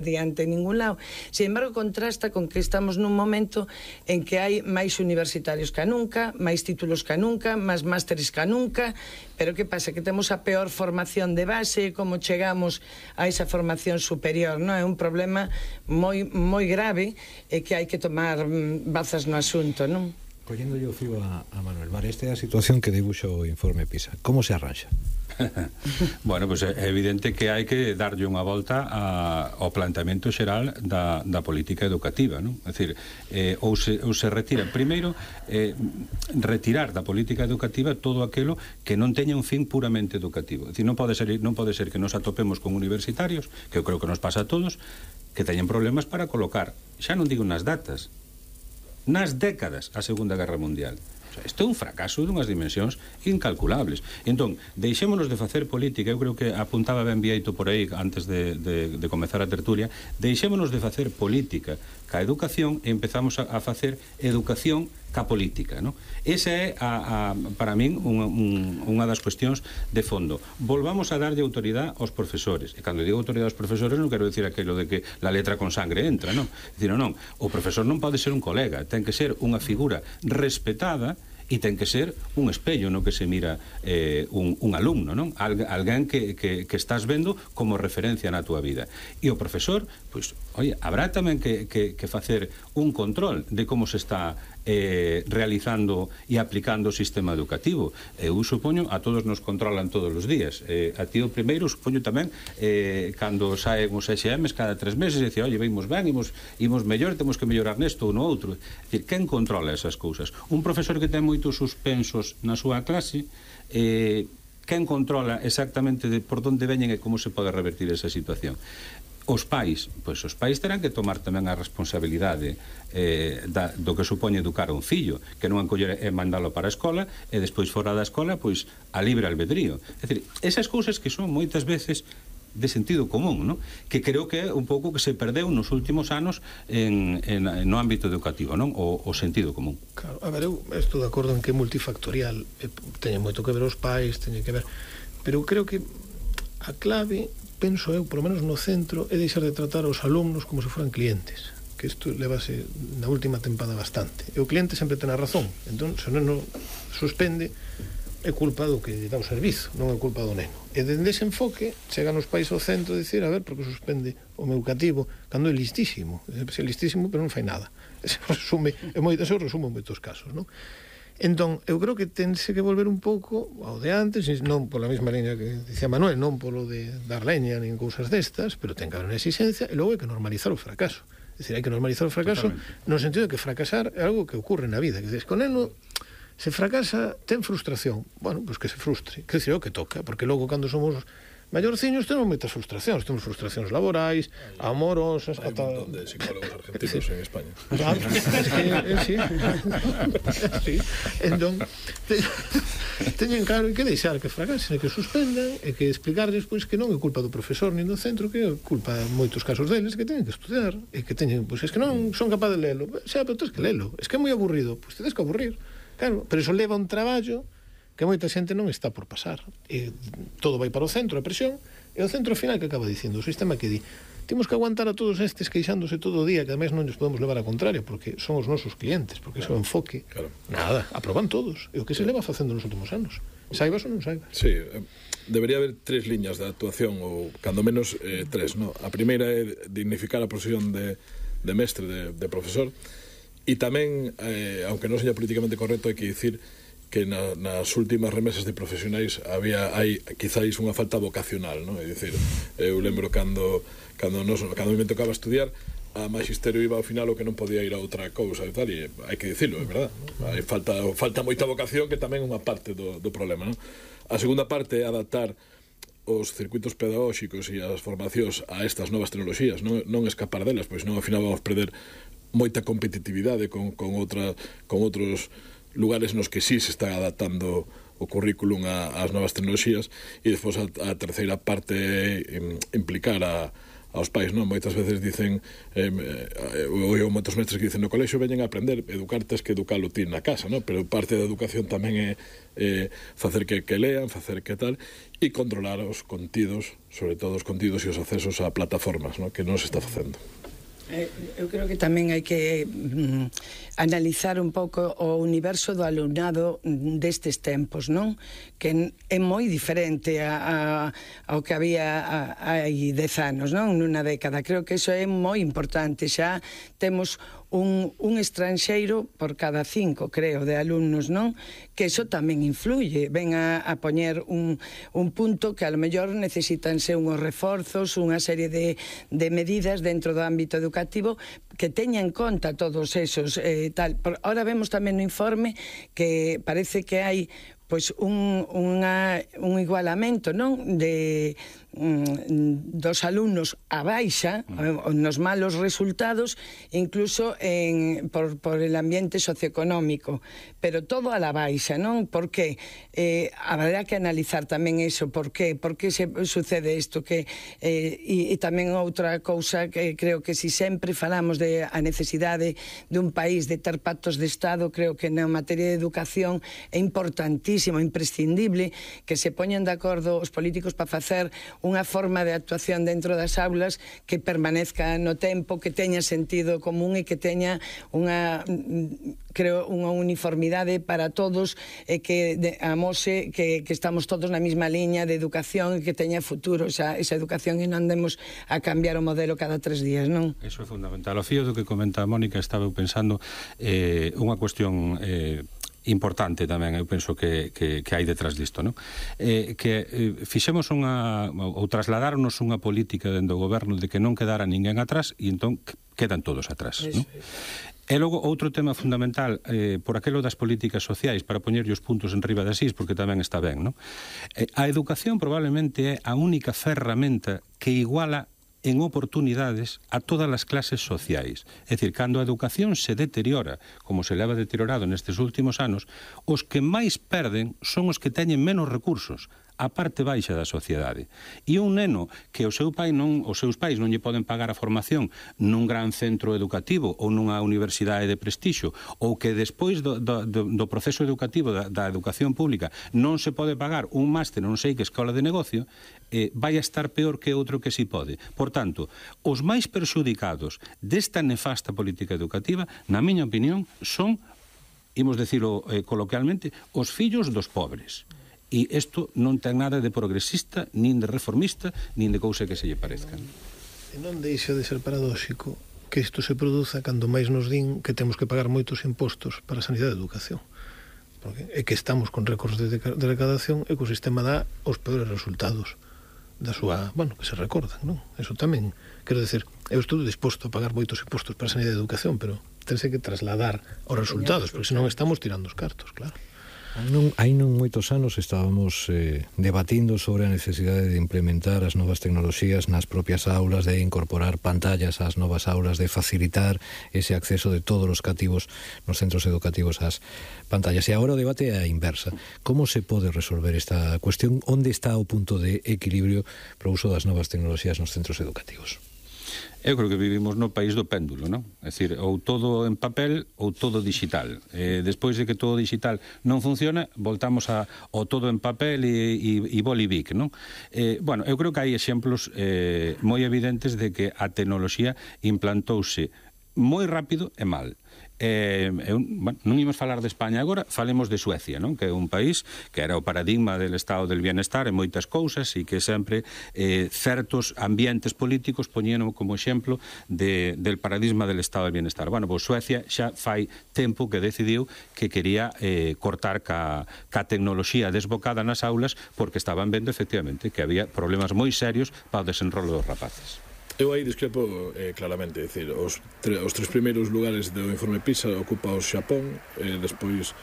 adiante en ningún lado. Sin embargo, contrasta con que estamos nun momento en que hai máis universitarios que nunca, máis títulos que nunca, máis másteres que nunca, pero que pasa? Que temos a peor formación de base, como chegamos a esa formación superior, non? É un problema moi grave e que hai que tomar bazas no asunto, non? Collendo o fío a Manuel, vale, esta é a situación que dibuxa o informe PISA. Como se arranxa? Bueno, pois é evidente que hai que darlle unha volta ao planteamento xeral da política educativa, non? É dicir, ou se retira primeiro, retirar da política educativa todo aquilo que non teña un fin puramente educativo. É dicir, non pode ser que nos atopemos con universitarios, que eu creo que nos pasa a todos, que teñen problemas para colocar, xa non digo nas datas, nas décadas, a Segunda Guerra Mundial. Isto é un fracaso dunhas dimensións incalculables. Entón, deixémonos de facer política. Eu creo que apuntaba ben Vieito por aí antes de comezar a tertulia. Deixémonos de facer política ca educación e empezamos a facer educación ca política, non? Esa é, para min, unha das cuestións de fondo. Volvamos a darlle autoridade aos profesores. E cando digo autoridade aos profesores non quero dicir aquilo de que la letra con sangre entra, non? Dicir, non, o profesor non pode ser un colega, ten que ser unha figura respetada e ten que ser un espello no que se mira un alumno, non? Alguén que estás vendo como referencia na túa vida. E o profesor, pois, oye, habrá tamén que facer un control de como se está realizando e aplicando o sistema educativo. Eu supoño, a todos nos controlan todos os días. A ti o primeiro, supoño tamén, cando saen os EXMs cada 3 meses, dicía, oye, veimos ben, imos mellor, temos que mellorar nesto ou no outro. É dicir, quen controla esas cousas? Un profesor que ten moitos suspensos na súa clase, quen controla exactamente por onde veñen e como se pode revertir esa situación? Os pais, pois os pais terán que tomar tamén a responsabilidade do que supone educar a un fillo, que non encoller e mandalo para a escola e despois fora da escola, pois a libre albedrío. É dicir, esas cousas que son moitas veces de sentido común, non? Que creo que é un pouco que se perdeu nos últimos anos no ámbito educativo, non? O sentido común. Claro, a ver, eu estou de acordo en que é multifactorial, teñe moito que ver os pais, teñe que ver, pero creo que a clave, penso eu, por lo menos no centro, é deixar de tratar aos alumnos como se foran clientes, que isto levase na última tempada bastante. E o cliente sempre ten a razón, entón, se non suspende, é culpa do que dá o servizo, non é culpa do neno. E dende ese enfoque, chegan os pais ao centro a dicir, a ver, porque suspende o meu cativo, cando é listísimo. É listísimo, pero non fai nada. Ese resume en moitos casos, non? Entón, eu creo que tense que volver un pouco ao de antes, non pola mesma liña que dicía Manuel, non polo de dar leña nin cousas destas, pero ten que haber unha exigencia, e logo hai que normalizar o fracaso. É dicir, hai que normalizar o fracaso no sentido de que fracasar é algo que ocorre na vida. Que dices, con neno, se fracasa, ten frustración. Bueno, pois que se frustre, que é o que toca, porque logo cando somos maiorciños temos moitas frustracións, temos frustracións laborais, amorosas, hai un montón de psicólogos argentinos en España. Sí. Entón, teñen claro que deixar que fracasen, que suspendan, e que explicarles pois que non é culpa do profesor nin do centro, que é culpa en moitos casos deles, que teñen que estudiar, e que teñen, pois es que non son capaz de lelo. Xa, pero tens que lelo. Es que é moi aburrido, pois tedes que aburrir. Claro, pero iso leva un traballo que moita xente non está por pasar. E todo vai para o centro, a presión, e o centro final que acaba dicindo, o sistema que di, temos que aguantar a todos estes queixándose todo o día, que ademais non nos podemos levar a contrario, porque son os nosos clientes, porque claro, ese é o enfoque. Claro. Nada, aproban todos. E o que se leva facendo nos últimos anos. Saibas ou non saibas? Sí, debería haber 3 liñas de actuación, ou cando menos 3, no? A primeira é dignificar a profesión de mestre, de profesor, e tamén, aunque non seña políticamente correcto, hai que dicir que nas últimas remesas de profesionais hai quizáis unha falta vocacional, non? É dicir, eu lembro cando me tocaba estudiar, a magisterio iba ao final o que non podía ir a outra cousa e tal, e hai que dicilo, é verdad, non? Hai falta moita vocación, que tamén é unha parte do problema, non? A segunda parte é adaptar os circuitos pedagóxicos e as formacións a estas novas tecnoloxías, non escapar delas, pois non ao final vamos perder moita competitividade con outros lugares nos que sí se está adaptando o currículum ás novas tecnoloxías, e despois a terceira parte é implicar a aos pais, non? Moitas veces dicen ou moitos mestres que dicen no colexio veñen a aprender, educar tes que educalo ti na casa, non? Pero parte da educación tamén é facer que lean, facer que tal, e controlar os contidos, sobre todo os contidos e os accesos a plataformas, non? Que non se está facendo. Eu creo que tamén hai que analizar un pouco o universo do alumnado destes tempos, non? Que é moi diferente ao que había hai 10 anos, non? Nunha década. Creo que iso é moi importante. Xa temos un estranxeiro por cada 5, creo, de alumnos, non? Que iso tamén influye. Ven a poñer un punto que a lo mellor necesitanse unhos reforzos, unha serie de medidas dentro do ámbito educativo que teña en conta todos esos tal. Ahora vemos tamén no informe que parece que hai pois un igualamento, non? Dos alumnos a baixa nos malos resultados, incluso por el ambiente socioeconómico, pero todo a la baixa, non? Por que? Habrá que analizar tamén iso, por que se sucede isto, e tamén outra cousa que creo que si sempre falamos de a necesidade de un país de ter pactos de Estado, creo que na materia de educación é importantísimo, imprescindible que se poñan de acordo os políticos para facer unha forma de actuación dentro das aulas que permanezca no tempo, que teña sentido común e que teña unha uniformidade para todos e que amose que estamos todos na mesma liña de educación e que teña futuro esa educación e non andemos a cambiar o modelo cada 3 días, non? Eso é fundamental. O fío do que comenta a Mónica, estaba eu pensando unha cuestión importante tamén, eu penso que hai detrás disto, non? Fixemos ou trasladarnos unha política dentro do goberno de que non quedara ninguén atrás e entón quedan todos atrás, non? E logo, outro tema fundamental, por aquelo das políticas sociais, para poñerlle os puntos en riba das is, porque tamén está ben, non? A educación probablemente é a única ferramenta que iguala en oportunidades a todas as clases sociais. É dicir, cando a educación se deteriora, como se leva deteriorado nestes últimos anos, os que máis perden son os que teñen menos recursos, a parte baixa da sociedade. E un neno que os seus pais non lle poden pagar a formación nun gran centro educativo ou nunha universidade de prestixio, ou que despois do proceso educativo da educación pública non se pode pagar un máster non sei que escola de negocio, vai a estar peor que outro que si pode. Por tanto, os máis perxudicados desta nefasta política educativa, na miña opinión, son, imos decirlo coloquialmente, os fillos dos pobres. E isto non ten nada de progresista, nin de reformista, nin de cousa que se lle parezca. E non deixa de ser paradóxico que isto se produza cando máis nos din que temos que pagar moitos impostos para a sanidade e a educación. Porque é que estamos con récords de recaudación e que o sistema dá os peores resultados da súa, que se recordan, non? Eso tamén, quero decir, eu estou disposto a pagar moitos impostos para a sanidade e a educación, pero tense que trasladar os resultados, porque senón estamos tirando os cartos, claro. Hai non moitos anos estábamos debatindo sobre a necesidade de implementar as novas tecnoloxías nas propias aulas, de incorporar pantallas ás novas aulas, de facilitar ese acceso de todos os cativos nos centros educativos ás pantallas. E agora o debate é a inversa. Como se pode resolver esta cuestión? Onde está o punto de equilibrio para o uso das novas tecnoloxías nos centros educativos? Eu creo que vivimos no país do péndulo, non? É dicir, ou todo en papel ou todo digital. Despois de que todo digital non funciona, voltamos ao todo en papel e bolivic, non? Eu creo que hai exemplos moi evidentes de que a tecnoloxía implantouse moi rápido e mal. Non imos falar de España agora, falemos de Suecia, non? Que é un país que era o paradigma del estado del bienestar en moitas cousas e que sempre certos ambientes políticos poñeron como exemplo del paradigma del estado del bienestar. Pois Suecia xa fai tempo que decidiu que quería cortar ca tecnoloxía desbocada nas aulas porque estaban vendo efectivamente que había problemas moi serios para o desenrolo dos rapaces. Eu aí discrepo claramente, é dicir, os 3 primeiros lugares do informe PISA ocupa o Xapón, despois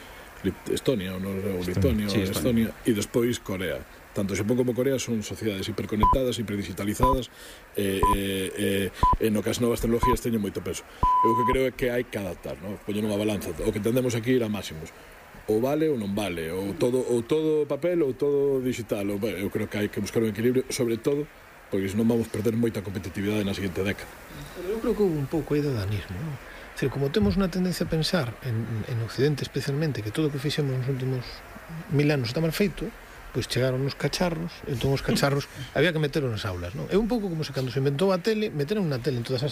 Estonia, ou Lituania, ou Estonia, e despois Corea. Tanto Xapón como Corea son sociedades hiperconectadas, hiperdigitalizadas, e no que as novas tecnologías teñen moito peso. Eu que creo é que hai que adaptar, non? Poñer unha balanza. O que entendemos aquí ir a máximos. Ou vale ou non vale, ou todo papel ou todo digital. Eu creo que hai que buscar un equilibrio, sobre todo porque senón vamos perder moita competitividade na seguinte década. Pero eu creo que houve un pouco aí de danismo, non? É dicir, como temos unha tendencia a pensar en Occidente especialmente que todo o que fixemos nos últimos 1000 anos está mal feito, pois chegaron os cacharros, entón os cacharros había que meteros nas aulas, non? É un pouco como se cando se inventou a tele, meteron na tele en todas as